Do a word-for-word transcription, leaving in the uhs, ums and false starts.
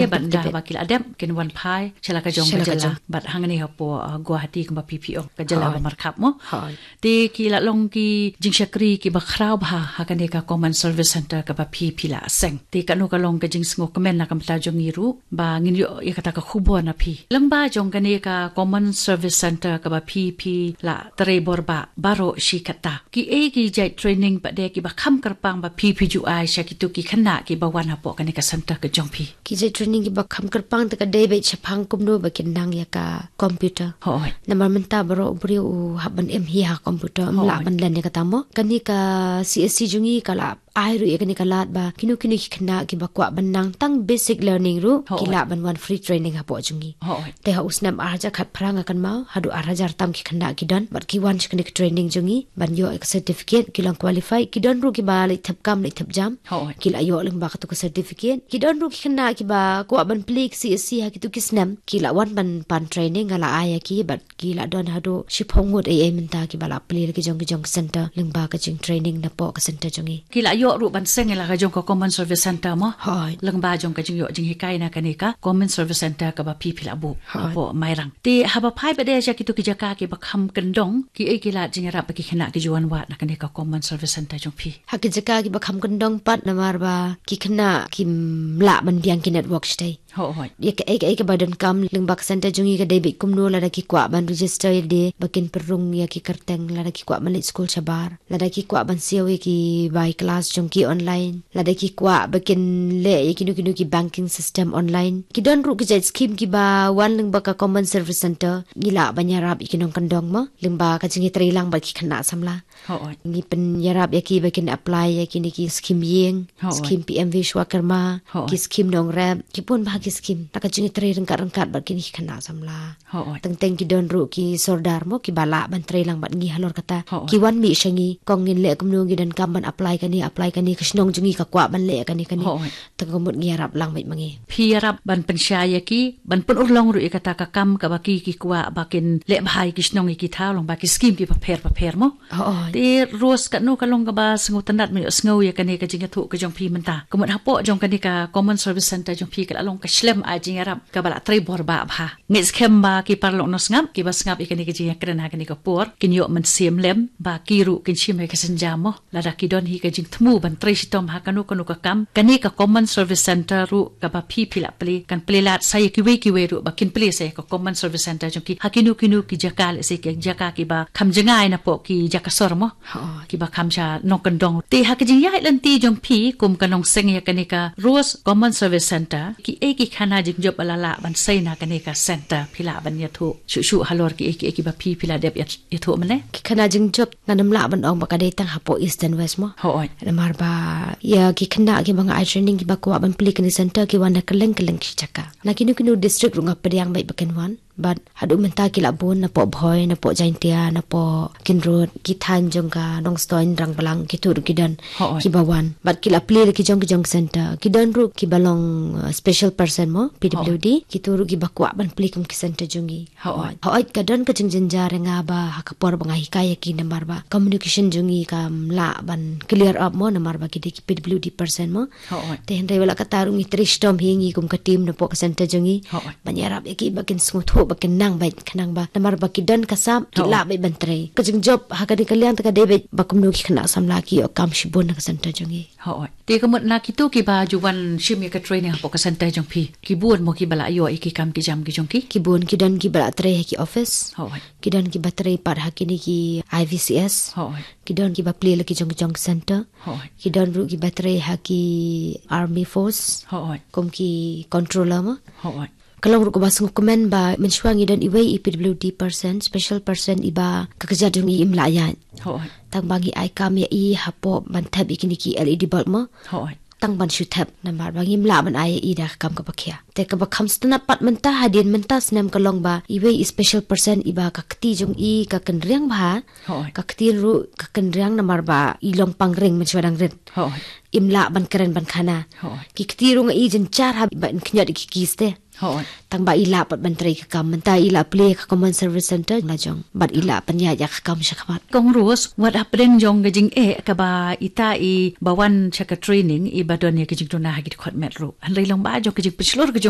Ïa, bad da ba ki la dep kin wan phai sha la ka jong ka jylla, bad hangne hapoh, uh, Guwahati kumba phi phi ong, ka jylla ba markhap mo. Te ki la long ki jingshakri kiba khraw bha ha kane ka Common Service Centre kaba phi phi la seng. Te kano ka long ka jingsngewkmen na ka bynta jong ngi ruh ba ngin ïoh ïa kata ka khubor na phi. Lyngba jong kane ka Common Service Centre kaba phi phi la trei bor ba baroh shi katta, ki ei ki jait training pat de kiba kham kyrpang ba phi phi ju ai sha kito ki khynnah kiba wan hapoh kane ka centre ka jong phi? Ki jait training kiba kham kyrpang te ka dei beit shaphang kumno ba kin nang ïa ka computer. Hooid. Namar mynta baroh u briew u hap ban im hi ha computer, ym lah ban len ïa kata mo. Kane ka C S C jong ngi ka la ai ruh ïa kane ka lad ba kino kino ki khynnah kiba kwah ban nang tang basic learning ruh, ki lah ban wan free training hapoh jong ngi. Hooid. Te ha u snem ar hajar khatphra nga kynmaw haduh ar hajar tam ki khynnah ki don bad ki wan sha kane ka training jong ngi ban ïoh ïa ka certificate, ki long qualified, ki don ruh kiba leit thep kam leit thep jam. Hooid. Ki la ïoh lyngba katu ka certificate. Ki don ruh ki khynnah kiba kwah ban plie ka C S C ha kitu ki snem, ki la wan ban pan training, nga la ai ïa ki bad ki la don haduh shiphew ngut ei ei mynta kiba la plie la ki jong ki jong ka centre lyngba ka jingtraining napoh ka centre jong ngi. Ki la ïoh ruh ban seng ïa la ka jong ka Common Service Centre mo. Hooid. Lyngba jong ka jingïoh jinghikai na kane ka Common Service Centre kaba phi phi la buh hapoh Mairang. Te haba phai pat de sha kitu ki jaka kiba kham kyndong, ki ei ki lad jingïarap ba ki khynnah ki ju wan wad na kane ka Common Service Centre jong phi? Ha ki jaka kiba kham kyndong pat, namar ba ki khynnah kim lah ban biang ki network shatei. Hooid. Ïa kaei kaei kaba donkam lyngba ka centre jong ngi ka dei beit kumno, lada ki kwah ban register ïa lade ba kin pynrung ïa ki kyrteng, lada ki kwah ban leit skul shabar, lada ki kwah ban siew ïa ki bai class jong ki online, lada ki kwah ba kin leh ïa kino kino ki banking system online. Ki don ruh ki jait scheme kiba wan lyngba ka Common Service Centre, ngi lah ban ïarap ïa ki nongkyndong mo, lyngba ka jingïatreilang bad ki khynnah samla. Hooid. Ngi pynïarap ïa ki ba kin apply ïa kine ki scheme ïing, scheme P M Vishwakarma, ki scheme nongrep, ki bun bha ki scheme. La ka jingtrei ryngkat ryngkat bad kine ki khynnah samla. Hooid. Teng teng ki don ruh ki sordar mo kiba lah ban trei lang bad ngi halor kata. Hooid. Ki wan mih sha ngi, kong ngin leh kumno, ngi donkam ban apply kane, apply kane, ka shnong jong ngi ka kwah ban leh kane kane. Hooid. Te ka mut ngi ïarap lang beit ma ngi. Phi ïarap ban pynshai ïa ki, ban pynurlong ruh ïa kata ka kam kaba ki ki kwah ba kin leh bha ïa ki shnong ïa ki thaw lyngba ki scheme kiba pher bapher mo. Hooid. Te Rose, kano ka long kaba sngewtynnat, me ïohsngew ïa kane ka jingïathuh ka jong phi mynta? Ka mut hapoh jong kane ka Common Service Centre jong phi ka la long ka shlem ai jingïarap kaba la trei bor ba bha. Ngeit skhem ba ki paralok nongsngap kiba sngap ïa kane ka jingïakren ha kane ka por kin ïoh mynsiem lem ba ki ruh kin shim ïa ka synjam mo. Lada ki don hi ka jingthmu ban trei shitom ha kano kano ka kam, kane ka Common Service Centre ruh kaba phi phi la plie kan plie lad sa ïa kiwei kiwei ruh ba kin plie sa ïa ka Common Service Centre jong ki ha kino kino ki jaka, lehse ki jaka kiba kham jngai napoh ki jaka sor mo. Hooid. Kiba kham sha nongkyndong. Te ha ka jingïaid lynti jong phi kum ka nongseng ïa kane ka Rose Common Service Centre, ki ei ki khana jingjop ba la lah ban sei na kane ka centre, phi lah ban ïathuh shuh shuh halor ki ei ki ei kiba phi phi la dep ïa ïathuh mynne? Ki khana jingjop, ngan ym lah ban ong ba ka dei tang hapoh East and West mo. Hooid. Namar ba ïa ki khynnah kiba nga ai training kiba kwah ban plie kane centre ki wan na kylleng kylleng ki jaka. Na kino kino district ruh nga pdiang beit ba kin wan. Bad haduh mynta ki la bun napoh Bhoi, napoh Jaintia, napoh Kinrud, ki thaiñ jong ka Nongstoiñ, Rangblang, kito ruh ki don. Hooid. Kiba wan. Bad ki la plie la ki jong ki jong centre. Ki don ruh kiba long, uh, special person mo, P W D. Hooid. Kito ruh kiba kwah ban plie kum ki centre jong ngi. Hooid. Hooid, ka don ka jingjynjar ïa nga ba ha ka por ba nga hikai ïa ki, namar ba communication jong ngi kam lah ban clear up mo, namar ba ki dei ki P W D person mo. Hooid. Te hynrei wat la katta ruh ngi trei shitom hi ngi kum ka team napoh ka centre jong ngi. Hooid. Ban ïarap ïa ki ba kin sngewthuh ba kin nang beit, khnang ba namar ba ki don ka sap, ki lah beit ban trei. Ka jingjop ha kane ka liang te ka dei beit ba kumno ki khynnah samla ki ïoh kam shibun na ka centre jong ngi. Hooid. Te ka mut na kito kiba ju wan shim ïa ka training hapoh ka centre jong phi, ki bun mo kiba la ïoh ïa ki kam ki jam ki jong ki? Ki bun, ki don kiba la trei ha ki office. Hooid. Ki don kiba trei pat ha kine ki I V C S. Hooid. Ki don kiba plie la ki jong ki jong centre. Hooid. Ki don ruh kiba trei ha ki army force. Hooid. Kum ki controller mo. Hooid. Ka long ruh kaba sngewkmen ba mynshuwa ngi don iwei i P W D person, special person, iba ka kjat jong i im lah ïaid. Hooid. Tang ba ngi ai kam ïa i hapoh ban thep ïa kine ki L E D bulb mo. Hooid. Tang ban shu thep, namar ba ngim lah ban ai ïa i da ka kam kaba khia. Te kaba kham sngewtynnat pat mynta, hadien mynta snem, ka long ba iwei i special person iba ka kti jong i ka kynriang bha. Hooid. Ka ktien ruh ka kynriang namar ba i long pangring mynshuwa dang rit. Hooid. Im lah ban kren ban khana. Hooid. Ki kti ruh nga i jynjar haba in khñiot ïa ki keys te. Tang ba i lah pat ban trei ka kam, mynta i lah plie ka Common Service Centre la jong bad i lah pynïaid ïa ka kam shakhmat. Kong Rose, wat hapdeng jong ka jingeh kaba ita i ba wan sha ka training i ba don ïa ka jingduna ha ki dkhot met ruh, hynrei long ba jong ka jingpynshlur ka jong